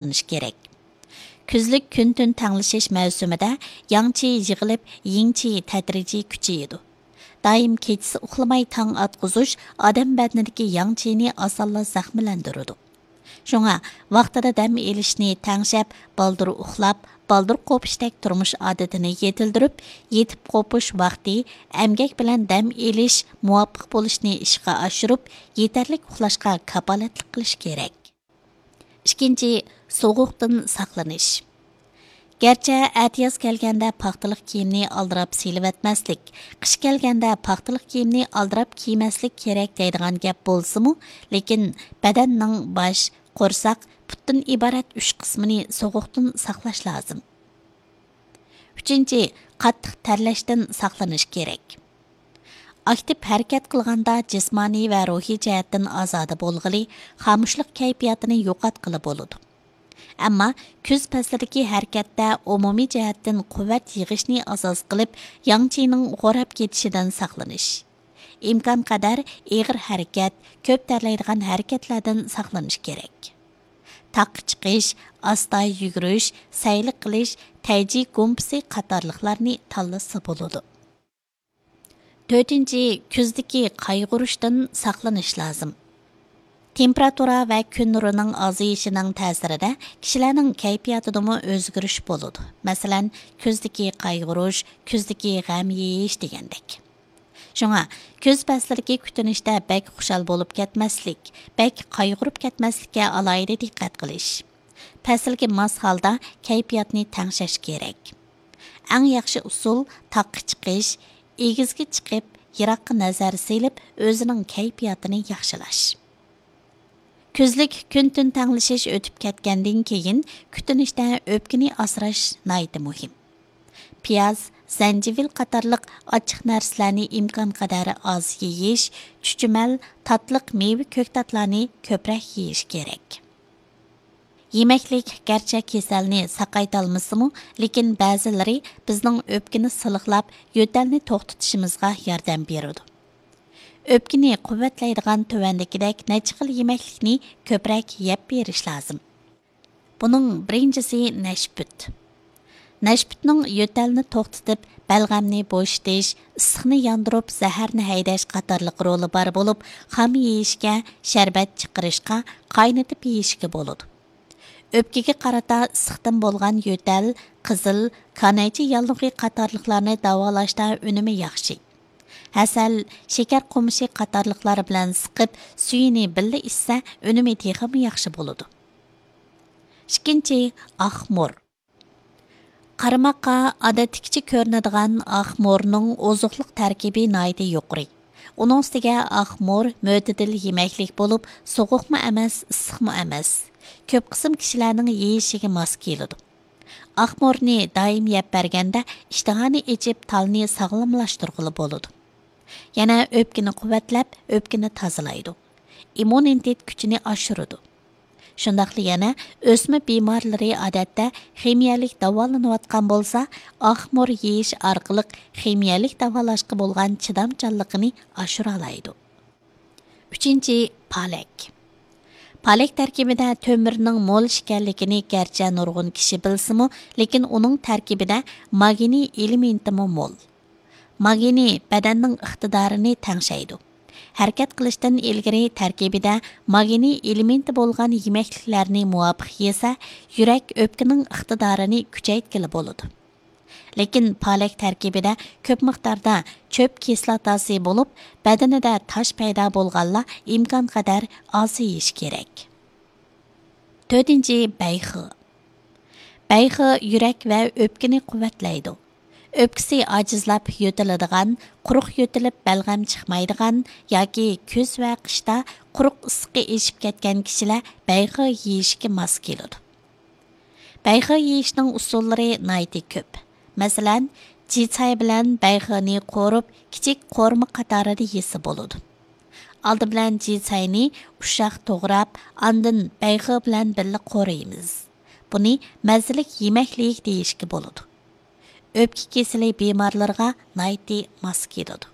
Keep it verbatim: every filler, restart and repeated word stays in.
ساقلىنىش كېرەك. كۈزلۈك كۈن تۈن تەڭلىشىش مەۋسۇمىدە ياڭ چى يىغىلىپ، يىڭ چى تەدرىجىي كۈچىيىدۇ. دائىم كېچىسى ئۇخلىماي تاڭ ئاتقۇزۇش ئادەم بەدىنىدىكى ياڭ چىنى ئاسانلا زەخىملەندۈرىدۇ. شۇڭا ۋاقتىدا دەم ئېلىشنى تەڭشەپ، بالدۇر ئۇخلاپ، بالدۇر قوپۇشتەك تۇرمۇش ئادىتىنى يېتىلدۈرۈپ، يېتىپ قوپۇش ۋاقتى، ئەمگەك بىلەن دەم ئېلىش مۇۋاپىق بولۇشنى ئىشقا ئاشۇرۇپ، يېتەرلىك ئۇخلاشقا كاپالەتلىك قىلىش كېرەك. ئىككىنچى، سوغۇقتىن ساقلىنىش. گەرچە ئەتىياز كەلگەندە پاختىلىق كىيىمنى ئالدىراپ سېلىۋەتمەسلىك، قىش كەلگەندە پاختىلىق كىيىمنى ئالدىراپ كىيمەسلىك كېرەك دەيدىغان گەپ بولسىمۇ، لېكىن بەدەننىڭ باش، قورساق، پۇتتىن ئىبارەت ئۈچ قىسمىنى سوغۇقتىن ساقلاش لازىم. ئۈچىنچى، قاتتىق تەرلەشتىن ساقلىنىش كېرەك. ئاكتىپ ھەرىكەت قىلغاندا جىسمانىي ۋە روھىي جەھەتتىن ئازادە بولغىلى، خامۇشلۇق كەيپىياتىنى يوقاتقىلى بولىدۇ. ئەمما كۈز پەسلىدىكى ھەرىكەتتە ئومۇمىي جەھەتتىن قۇۋۋەت يىغىشنى ئاساس قىلىپ، ياڭ چىنىڭ خوراپ كېتىشىدىن ساقلىنىش. ئىمكانقەدەر ئېغىر ھەرىكەت، كۆپ تەرلەيدىغان ھەرىكەتلەردىن ساقلىنىش كېرەك. تاغقا چىقىش، ئاستا يۈگۈرۈش، سەيلە قىلىش، تەيجى گۇمپىسى قاتارلىقلارنى تاللىسا بولىدۇ. تۆتىنچى، كۈزدىكى قايغۇرۇشتىن ساقلىنىش لازىم. تېمپېراتۇرا ۋە كۈن نۇرىنىڭ ئازىيىشىنىڭ تەسىرىدە كىشىلەرنىڭ كەيپىياتىدىمۇ ئۆزگىرىش بولىدۇ. مەسىلەن، كۈزدىكى قايغۇرۇش، كۈزدىكى غەم يېيىش دېگەندەك. شۇڭا، كۈز پەسلىدىكى كۈتۈنۈشتە بەك خۇشال بولۇپ كەتمەسلىك، بەك قايغۇرۇپ كەتمەسلىككە ئالاھىدە دىققەت قىلىش. پەسىلگە ماس ھالدا كەيپىياتنى تەڭشەش كېرەك. ئەڭ ياخشى ئۇسۇل تاغقا چىقىش، ئېگىزگە چىقىپ، يىراققا نەزەر سېلىپ، ئۆزىنىڭ كەيپىياتىنى ياخشىلاش. كۈزلۈك كۈن تۈن تەڭلىشىش ئۆتۈپ كەتكەندىن كېيىن، كۈتۈنۈشتە ئۆپكىنى ئاسراش ناھايىتى مۇھىم. پىياز، زەنجىۋىل قاتارلىق ئاچچىق نەرسىلەرنى ئىمكانقەدەر ئاز يېيىش، چۈچۈمەل، تاتلىق مېۋە كۆكتاتلارنى كۆپرەك يېيىش كېرەك. يېمەكلىك گەرچە كېسەلنى ساقايتالمىسىمۇ، لېكىن بەزىلىرى بىزنىڭ ئۆپكىنى سىلىقلاپ، يۆتەلنى توختىتىشىمىزغا ياردەم بېرىدۇ. ئۆپكىنى قۇۋۋەتلەيدىغان تۆۋەندىكىدەك نەچچە خىل يېمەكلىكنى كۆپرەك يەپ بېرىش لازىم. بۇنىڭ بىرىنچىسى نەشپۈت. نەشپۈتنىڭ يۆتەلنى توختىتىپ، بەلغەمنى بوشىتىش، ئىسسىقنى ياندۇرۇپ، زەھەرنى ھەيدەش قاتارلىق رولى بار بولۇپ، خام يېيىشكە، شەربەت چىقىرىشقا، قاينىتىپ يېيىشكە بولىدۇ. ئۆپكىگە قارىتا ئىسسىقتىن بولغان يۆتەل، قىزىل، كانايچە ياللۇغى قاتارلىقلارنى داۋالاشتا ئۈنۈمى ياخشى. ھەسەل، شېكەر قومۇشى قاتارلىقلار بىلەن سىقىپ، سۈيىنى بىللە ئىچسە، ئۈنۈمى تېخىمۇ ياخشى بولىدۇ. ئىككىنچى، ئاق مور. قارىماققا ئادەتتىكىچە كۆرۈنىدىغان ئاق مورنىڭ ئوزۇقلۇق تەركىبى ناھايىتى يۇقىرى. ئۇنىڭ ئۈستىگە ئاق مور مۆتىدىل يېمەكلىك بولۇپ، سوغۇقمۇ ئەمەس، ئىسسىقمۇ ئەمەس. كۆپ قىسىم كىشىلەرنىڭ يېيىشىگە ماس كېلىدۇ. ئاق مورنى دائىم يەپ بەرگەندە، ئىشتىھانى ئېچىپ، تالنى ساغلاملاشتۇرغىلى بولىدۇ. يەنە ئۆپكىنى قۇۋۋەتلەپ، ئۆپكىنى تازىلايدۇ. ئىممۇنىتېت كۈچىنى ئاشۇرىدۇ. شۇنداقلا يەنە ئۆسمە بىمارلىرى ئادەتتە خىمىيەلىك داۋالىنىۋاتقان بولسا، ئاق مور يېيىش ئارقىلىق خىمىيەلىك داۋالاشقا بولغان چىدامچانلىقىنى ئاشۇرالايدۇ. ئۈچىنچى، پالەك. پالەك تەركىبىدە تۆمۈرنىڭ مول ئىكەنلىكىنى گەرچە نۇرغۇن كىشى بىلسىمۇ، لېكىن ئۇنىڭ تەركىبىدە ماگنىي ئېلېمېنتىمۇ مول. ماگنىي بەدەننىڭ ئىقتىدارىنى تەڭشەيدۇ. ھەرىكەت قىلىشتىن ئىلگىرى تەركىبىدە ماگنىي ئېلېمېنتى بولغان يېمەكلىكلەرنى مۇۋاپىق يېسە، يۈرەك، ئۆپكىنىڭ ئىقتىدارىنى كۈچەيتكىلى بولىدۇ. لېكىن پالەك تەركىبىدە كۆپ مىقداردا چۆپ كىسلاتاسى بولۇپ، بەدىنىدە تاش پەيدا بولغانلار ئىمكانقەدەر ئاز يېيىش كېرەك. تۆتىنچى، بەيخې. بەيخې يۈرەك ۋە ئۆپكىنى قۇۋۋەتلەيدۇ. ئۆپكىسى ئاجىزلاپ يۆتىلىدىغان، قۇرۇق يۆتىلىپ بەلغەم چىقمايدىغان ياكى كۈز ۋە قىشتا قۇرۇق ئىسسىقى ئېشىپ كەتكەن كىشىلەر بەيخې يېيىشكە ماس كېلىدۇ. بەيخې يېيىشنىڭ ئۇسۇللىرى ناھايىتى كۆپ. مەسىلەن، جىچاي بىلەن بەيخېنى قورۇپ، كىچىك قورۇما قاتارىدا يېسە بولىدۇ. ئالدى بىلەن جىچاينى ئۇششاق توغراپ، ئاندىن بەيخې بىلەن بىللە قورۇيمىز. بۇنى مەززىلىك يېمەكلىك دېيىشكە بولىدۇ. ئۆپكە كېسىلى بىمارلىرىغا ناھايىتى ماس كېلىدۇ.